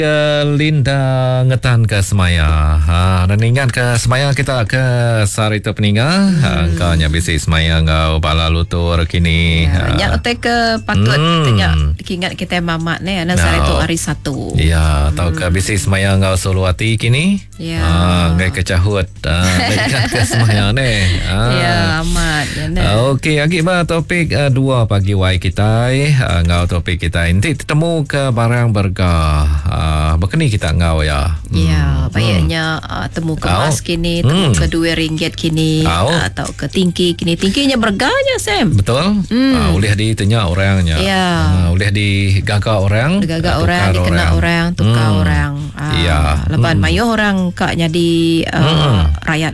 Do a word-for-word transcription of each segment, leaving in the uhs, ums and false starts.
Ke Linda ngetan ke semaya. Ha, dan ingat ke semaya kita ke sehari tu peninga. Hmm. Ha, engkau nya bisi semaya ngau bala lutur kini. Ya, nya utai ke patut hmm. kita nya ingat kita mamak ni ana sehari tu hari Satu. Ya, atau ke bisi semaya ngau solo hati kini. Ya. Ha, ngai ke cahut. Ha, ingat ke semaya ni. Ha. Ya, amat. Ya, ne. Okey, agi ba topik uh, dua pagi wai kita uh, ngau topik kita. Nanti ketemu ke barang berga. Uh, berkeni kita ngau ya. Hmm. Ya, baiknya hmm. uh, temu ke mas kini, temu hmm. ke dua ringgit kini, uh, atau ke tingki kini. Tingkinya berganya, Sam. Betul. Hmm. Uh, boleh ditanya orangnya. Ya. Uh, boleh digagak orang, digagak orang, dikena orang, tukar hmm. orang. Uh, ya. Lepas hmm. mayuh orang kak jadi uh, hmm. rakyat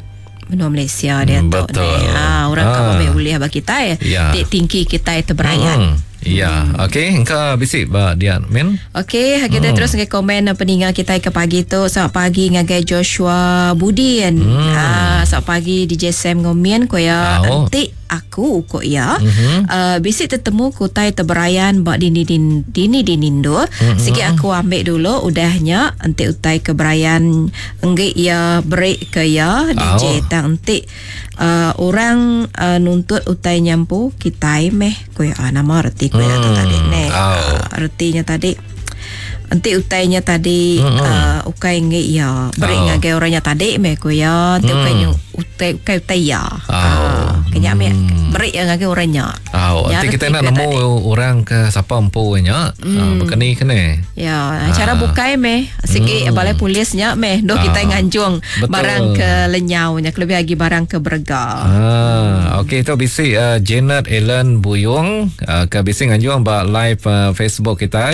menua Malaysia dia tu. Betul. Ha, orang ha. kak boleh bagi kita ya. Ya. Tingki kita itu berayat. Hmm. Ya, hmm. Okey, engkau bisik ba dia min. Okey, kita hmm. terus ngai komen peninga kita ke pagi tu. Selamat pagi ngagai Joshua Budin. Hmm. Ha, selamat pagi D J Sam ngomin ko ya. Nanti aku ko ya. Mm-hmm. Uh, bisik tetemu kutai teberayan ba dini din dini dinindo. Mm-hmm. Sikit aku ambil dulu udahnya enti utai keberayan enggi ya break ke ya D J oh. Tang enti uh, orang uh, nuntut utai nyampu kitai meh ko ya ah, nama reti ko ya hmm. tu tadi ne. Oh. Uh, retinya tadi enti utainya tadi mm-hmm. uh, ukai ngi ya beri oh. ngagai orangnya tadi meh ko ya enti mm. ukai nyu utai ukai utai ya. Oh. Uh, kenya meh beri yang ngagai orangnya. Oh, ya, enti kita nak nemu orang ke siapa empu nya mm. uh, bekeni kene. Ya, cara bukai meh sigi mm. balai polisnya meh doh ah. kita nganjung Betul. barang ke lenyaunya kelebih lagi barang ke berga. Ah, okey tu bisi uh, Janet Ellen Buyung uh, ke bisi nganjung ba live uh, Facebook kita.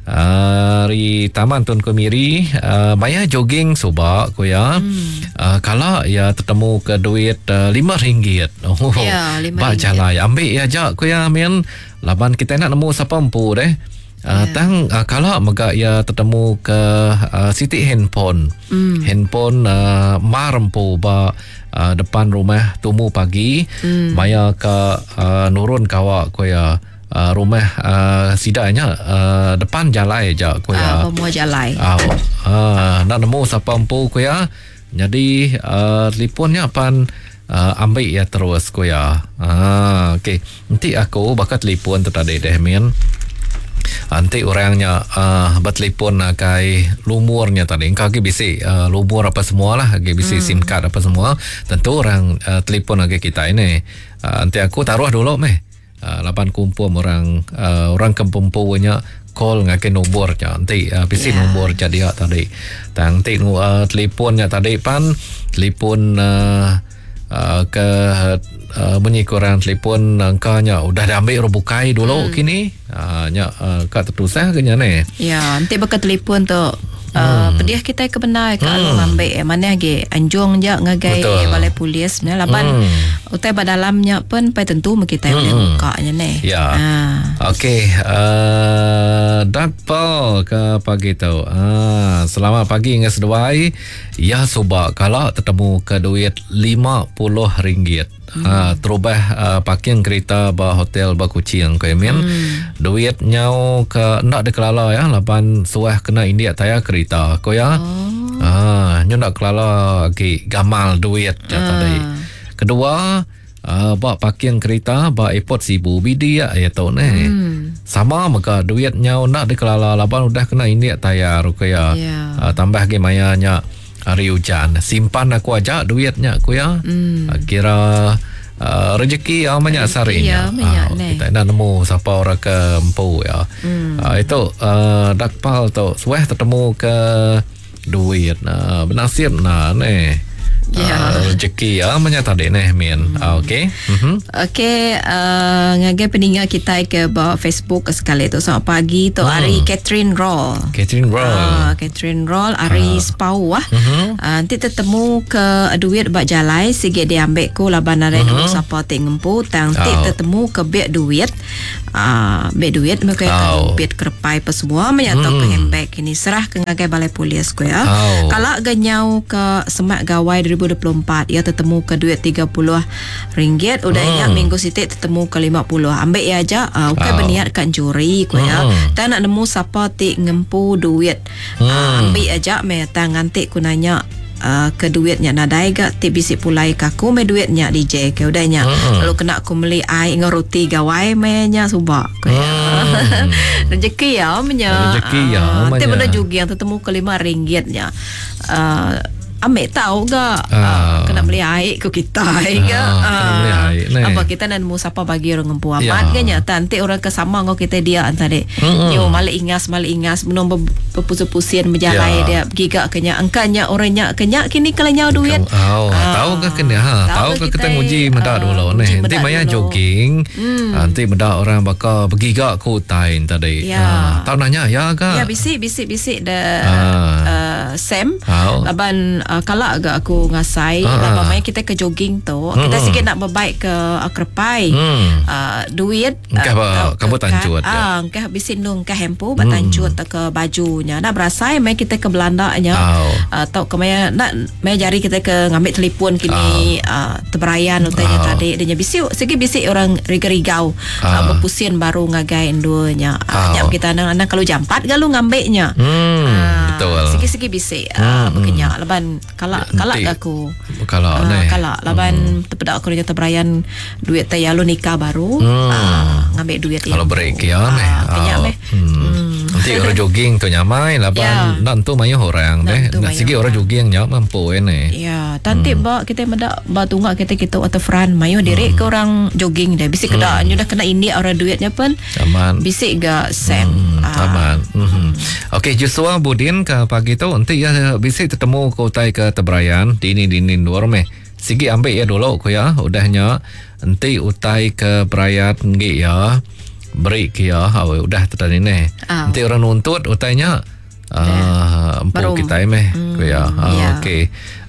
Hari uh, Taman Tun Kemiri uh, maya jogging subak ko ya. Hmm. Uh, kalau ya tertemu ke duit uh, lima ringgit. Oh, ya, lima bak ringgit. Jalai ambil ya jak ko ya min laban kita nak nemu siapa empu deh. Uh, Ya. Tang uh, kalau mega ya tertemu ke uh, siti handphone. Hmm. Handphone uh, marempu ba uh, depan rumah tumu pagi. Hmm. Maya ke uh, nurun kawak ko ya. Uh, rumah uh, sidanya uh, depan jalai je ko ya. Ah, pemua jalai. Ah, uh, nak nemu siapa empu ko ya. Jadi uh, telefonnya pan uh, ambil ya terus ko ya. Ah, okey. Nanti aku bakal telefon tu tadi deh min. Nanti orangnya uh, bertelefon kai lumurnya tadi. Engkau lagi bisi uh, lumur apa semualah, lagi bisi hmm. SIM card apa semua. Tentu orang uh, telefon lagi kita ini. Uh, nanti aku taruh dulu meh. Uh, lapan kumpul orang uh, orang kempempunya call ngakai nombornya nanti uh, bisi Yeah. nombor jadi dia tadi. Tang nanti uh, telefonnya tadi pan telefon uh, uh, ke uh, bunyi kurang telefon angkanya udah diambil rubukai dulu Hmm. kini. Uh, nya uh, kat tertusah ke nya ni. Ya, nanti bakal telefon tu. Uh, Hmm. pedih kita ke benar ke hmm. ambil mana lagi anjung je ngagai Betul. balai polis ne laban Hmm. utai ba dalamnya pun pai tentu me kita boleh Hmm. bukanya ne. Ya. Ha. Okey, uh, Dakpal ke pagi tu. Ah, selamat pagi dengan seduai. Ya subak kalau tertemu ke duit lima puluh ringgit. Hmm. Ha, terubah uh, parking kereta ba hotel ba Kuching ko min. Hmm. Duit nyau ke nak dikelala ya lapan suah kena india tayar kereta ko ya. Oh. Ah, nyu nak kelala lagi gamal duit je Ah. tadi. Kedua, uh, ba parking kereta ba airport Sibu bidi ya ya tu ni. Hmm. Sama mega duit nyau nak dikelala laban udah kena india tayar ko ya. Ya. Uh, tambah lagi mayanya hari hujan. Simpan aku aja duitnya aku ya. Hmm. Uh, kira uh, rezeki yang banyak sarinya. ya, banyak Ah, ni. kita nak nemu siapa orang ke empu ya. Hmm. Uh, itu uh, dakpal tu suah tertemu ke duit. Uh, bernasib nah ni. Ya. Uh, rezeki ya banyak tadi ni min. Hmm. Uh, okey. Mhm. Okey, uh, ngagai peninga kita ke bawah Facebook sekali tu. Selamat pagi tu Hmm. hari Catherine Roll. Catherine Roll. Ah, Catherine Roll hari uh. Spau ah. Mhm. Uh, nanti tertemu ke duit bak jalai sikit dia ambil ku laban ada uh-huh. nemu siapa ti ngempu tang ti Oh. tertemu ke beg duit. Ah, beg duit mereka Oh. oh. beg kerepai apa semua menyatau Hmm. ke handbag ini serah ke ngagai balai polis ku ya. Oh. Kalau genyau ke semak gawai dua ribu dua puluh empat ia tetemu ke duit tiga puluh ringgit. Udah hmm. nya minggu sitik tetemu ke lima puluh. Ambil ia aja, uh, bukan oh. berniat kan curi ku ya. Hmm. Tak nak nemu siapa ti ngempu duit. Hmm. Uh, ambil aja me tang nganti ku nanya Uh, ke duitnya nadai ga ti bisi pulai ke aku me duitnya D J ke udahnya hmm. Lalu kena aku beli ai ngau roti gawai me nya subak ku ya. Hmm. Rezeki ya menya. Rezeki ya uh, ti benda jugi yang tetemu ke lima ringgitnya. Uh, ambil tahu ga uh, uh, kena beli air ku kita ga uh, kena beli air ne. Apa kita nak nemu siapa bagi orang ngempu amat ya. Kan nanti orang ke sama ngau kita dia antara mm-hmm. Yo malik ingas malik ingas belum berpusing-pusing berjalai ya. Dia giga kenya angkanya orangnya kenya kini kelenyau duit. Oh, uh, tahu ke kena ha tahu ke kita nguji mendak uh, dulu ne. Nanti maya jogging mm. Nanti mendak orang bakal bergiga ku utai tadi. Ya. Uh, tahu nanya ya ke? Ya bisi bisi bisi de uh. Uh, Sam oh. Laban uh, kalau agak aku ngasai uh, laban main kita ke jogging tu hmm. Kita sikit nak berbaik ke uh, kerpai hmm. uh, duit engkah uh, kamu tancut ah engkah bisi nung engkah hempu ba tancut hmm. ke bajunya nak berasai main kita ke Belanda nya oh. uh, tau ke maya nak maya jari kita ke ngambil telefon kini oh. uh, terberayan utanya oh. Tadi dia bisi segi bisi orang riga-rigau oh. uh, berpusing baru ngagai enduanya uh, oh. Kita anak-anak kalau jampat galu ngambilnya hmm, uh, betul segi-segi bisi uh, hmm. Berkenyak laban kalak kalak aku kalak uh, kalak laban hmm. Terpedak aku dia terberayan duit teh lalu nikah baru hmm. uh, ngambil duit kalau break ya meh kenyak meh nanti orang jogging tu nyamai laban ya. Nak tu mayuh orang deh nak segi orang jogging nya mampu ini ya tanti hmm. Ba kita medak ba tunggak kita kita waterfront mayuh direk hmm. Ke orang jogging deh bisik kedak hmm. Dah kena indik orang duitnya pun aman bisik ga Sam hmm. Aman hmm. Okey Joshua Budin ke pagi tu nanti ya bisik ketemu ke utai ke teberayan dini dini luar meh sigi ambil ya dulu ku ya udahnya enti utai ke berayat ngi ya beri ke ya oh, udah tadi ni oh. Enti orang nuntut utainya uh, empu kita meh hmm, ku ya uh, yeah. Okey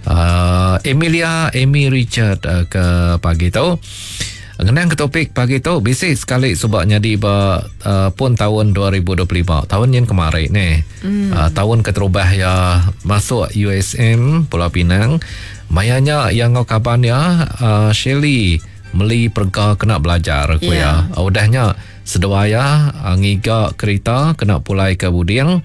uh, Emilia Amy Richard uh, ke pagi tu ngenang ke topik pagi tu bisi sekali subaknya di ba, uh, pun tahun dua ribu dua puluh lima tahun yang kemarin ni mm. uh, tahun keterubah ya masuk U S M Pulau Pinang mayanya yang ngau kaban ya uh, Shelly meli perga kena belajar ku yeah. Ya uh, udahnya seduaya uh, ngiga kereta kena pulai ke Buding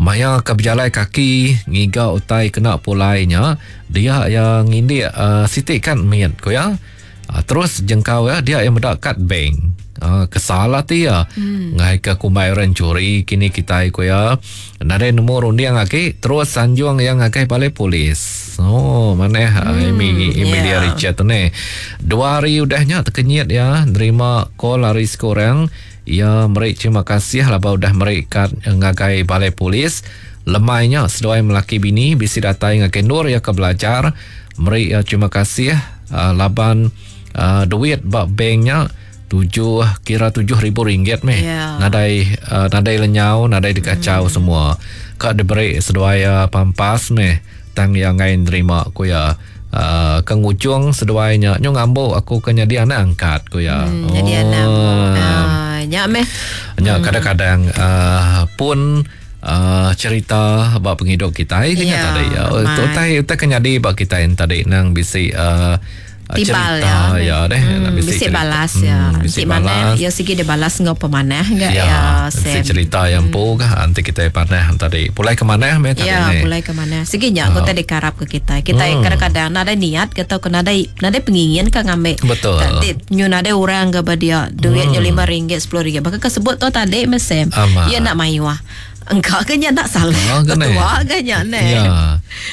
maya ke berjalan kaki ngiga utai kena pulainya dia yang ngindik uh, sitik kan miat ku ya. Uh, terus jengkau ya dia yang mendak kad bank. Uh, kesal hati ya. Hmm. Ngai ke kumbai orang curi kini kita ku ya. Nadai nombor runding lagi terus sanjung yang ngagai balai polis. Oh mana hmm, Amy Emilia yeah. Richard tu ni. Dua hari udahnya terkenyit ya nerima call hari sekorang ya merik terima kasih lah udah merik kad ngagai balai polis. Lemainya seduai melaki bini bisi datai ngagai Nur ya ke belajar merik ya terima kasih uh, laban Uh, duit bak banknya tujuh kira tujuh ribu ringgit meh yeah. Nadai uh, nadai lenyau nadai dikacau hmm. Semua kak diberi seduai uh, pampas meh tang yang ngain terima ku ya uh, ke ngujung seduainya nyo ngambo aku ke jadi anak angkat ku ya hmm, jadi anak uh, nya meh nya hmm. Kadang-kadang uh, pun Uh, cerita bab penghidup kita ini yeah, tadi ya utai utai kenyadi bab kita yang tadi nang bisi uh, timbal cerita ya, ya deh hmm, bisi bisi balas ya hmm, bisi mana balas ya segi dia balas ngau pemanah enggak ya, ya bisi cerita yang hmm. pu kah nanti kita panah tadi pulai ke mana meh tadi ya ni pulai ke mana segi nya oh. Kita dikarap ke kita kita hmm. Kadang-kadang nada niat atau kena ada nada pengingin ka ngambil betul nanti nyu nada orang ke dia duitnya hmm. lima ringgit sepuluh ringgit bahkan kesebut tu tadi mesem ya nak mayuah engkau kena nak salah oh, ketua kena ne ya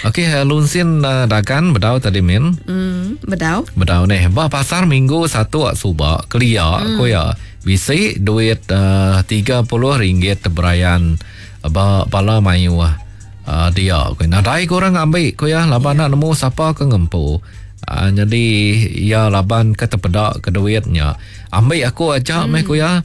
okey lunsin uh, dagan bedau tadi min hmm bedau bedau ne ba pasar minggu satu subak kelia hmm. Ku ya bisi duit uh, tiga puluh ringgit teberayan ba bala mayuah uh, dia ku nadai korang ambil ku ya laban ya. Nak nemu siapa ke ngempu uh, jadi ya laban ke terpedak ke duitnya ambil aku aja hmm. Meh ku ya.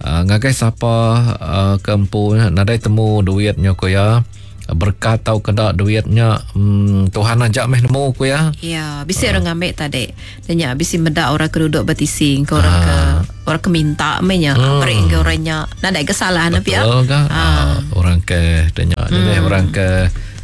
Uh, ngagai siapa uh, ke empu nadai temu duitnya ku ya berkat tau kedak duitnya hmm, Tuhan ajak meh nemu ku ya. Ya, bisi uh. orang ngambil tadi. Dan ya bisi medak orang ke duduk bertising ke orang uh. ke orang ke minta meh nya, hmm. beri ke orangnya. Nadai kesalahan apa ya. Betul ke? Uh. Uh, orang ke denya hmm. orang ke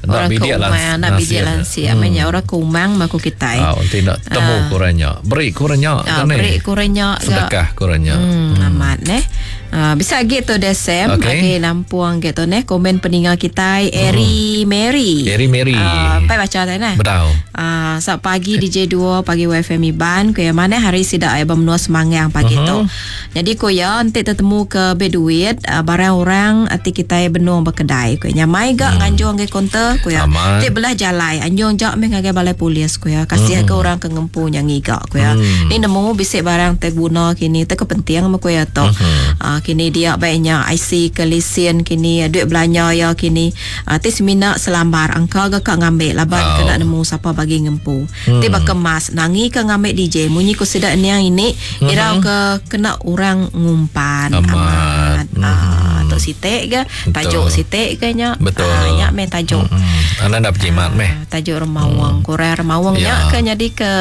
Nak bidik lah. Nak bidik lansia. Hmm. Menya orang kumang maku kitai. Ah, nanti nak temu uh. kurangnya. Beri kurangnya uh, beri kurangnya. Sedekah kurangnya. Hmm, hmm. Amat neh. Uh, bisa gitu deh Sam. Okey okay. Nampuang gitu neh komen peningal kitai Eri hmm. Mary. Eri Mary. Uh, pai baca tadi neh. Betul. Uh, sat pagi D J dua pagi W F M Iban ku ya mana hari sidak ai menua Semanggang pagi uh-huh. tu. Jadi ku ya nanti tertemu ke be duit uh, barang orang ati kitai benung berkedai ku nyamai gak hmm. nganjung ke konter ku ya. Ti belah jalai anjung jak meh ngagai balai polis ku ya. Kasih hmm. ke orang ke ngempu nya ngiga ku ya. Hmm. Ni nemu bisik barang te guna kini te kepenting ku ya tu. Uh-huh. Uh, kini dia baiknya I C ke lesen kini duit belanja ya kini uh, ti semina selambar angka ke kak ngambil laban oh. kena nemu siapa bagi ngempu hmm. ti berkemas nangi ke ngambil D J munyi ku sedak niang ini hmm. irau ke kena orang ngumpan amat, amat. Hmm. Uh, tok sitek ke tajuk sitek ke nya betul uh, nya meh tajuk hmm. Anda nak berjimat meh tajuk remawang hmm. Korea remawang nya ya. Ke jadi ke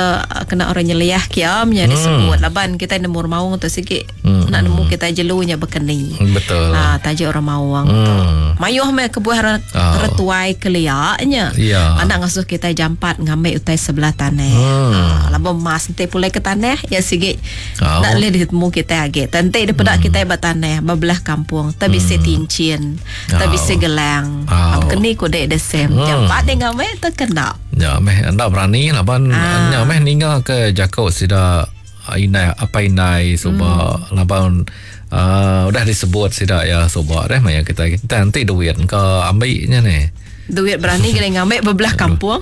kena orang nyeliah kiam nya hmm. disebut laban kita nemu remawang tu sikit hmm. nak nemu kita jelu nya berkeni. Betul. Ha, tajuk remawang hmm. tu. Mayuh meh kebuah re, oh. retuai keliaknya. Ya. Anak ngasuh kita jampat ngambil utai sebelah tanah. Hmm. Ha, lama mas nanti pulai ke tanah ya sikit oh. nak boleh ditemu kita lagi. Nanti dia pedak hmm. kita bertanah berbelah kampung, tapi hmm. si tincin, tapi oh. si gelang. Oh. Berkeni ku dek desem. Hmm. Jampat dia ngambil terkena. Ya meh anda berani laban ah. nya meh ninga ke jakok sida inai apa inai suba hmm. laban Uh, udah disebut sidak ya subak deh maya kita kita nanti duit ke ambilnya ni duit berani kena ngambil berbelah kampung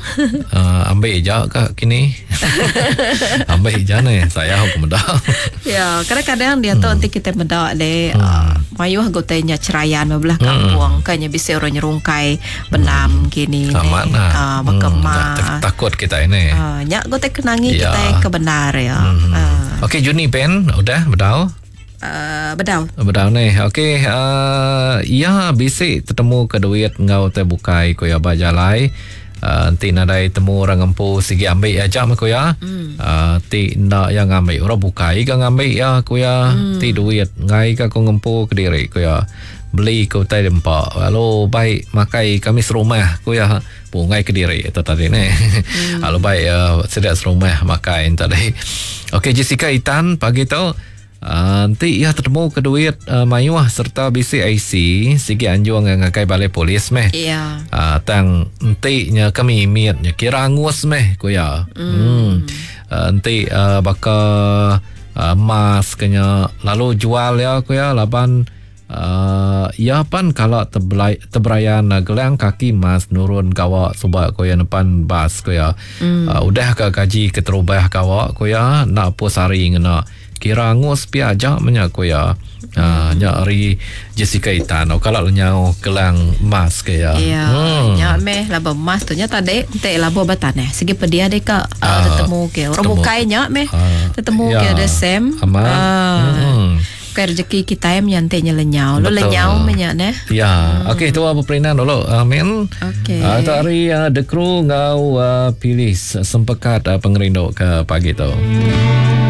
uh, ambil je ke kini ambil je ni saya aku medak ya kadang-kadang dia tu hmm. nanti kita medak deh hmm. uh, mayuh gotenya cerayan berbelah kampung hmm. kanya bisa orang nyerungkai benam hmm. kini amat lah uh, berkemas hmm. takut kita ini uh, nyak gote kenangi ya. kita kebenar ya hmm. uh. Okey Juni Pen udah bedau Uh, bedau. Bedau ni. Okey, uh, ya bisik tertemu ke duit ngau te bukai ko ya bajalai. Uh, nanti nadai temu orang ngempu sigi ambil aja mah ko ya. Hmm. Uh, ti ndak yang ngambil orang bukai ke ngambil ya ko ya. Hmm. Ti duit ngai ke ko ngempu ke diri ko ya. Beli ke utai dempak. Lalu baik makai kami serumah ko ya. Bungai ke diri itu tadi ni. Hmm. Lalu baik uh, sedia serumah makai tadi. Okey Jessica Itan pagi tu Uh, nanti ia tertemu ke duit uh, mayuh serta B C I C sigi anjung ngagai balai polis meh. Ya. Uh, tang enti nya kami miatnya kira angus meh ku ya. Hmm. Hmm. Uh, enti uh, baka uh, emas kenya lalu jual ya ku ya laban uh, ya pan kalau terbelai, teberayan uh, gelang kaki emas nurun gawak subak ku ya depan bas ku ya. Hmm. Uh, udah ke gaji keterubah gawak ku ya nak pus hari ngena kira angus pia aja menyak ku ya. Ha nya ari Jessica Itan kalau lenyau gelang emas ke ya. Ya. Hmm. Nya meh laba emas tu nya tadi entek laba bataneh. Segi pedia deka Ah, tetemu ke. Orang tetemu. bukai nya meh Ah, tetemu ya. ke ada Sam. Aman. Ah. Hmm. Bukan rezeki kita yang nyantiknya lenyau. Lu Betul. lenyau menyak neh. Ya, hmm. Okey tu apa perinan dulu. Amin. Okey. Uh, tu hari uh, The Crew ngau uh, pilih sempekat uh, pengerindu ke pagi tu.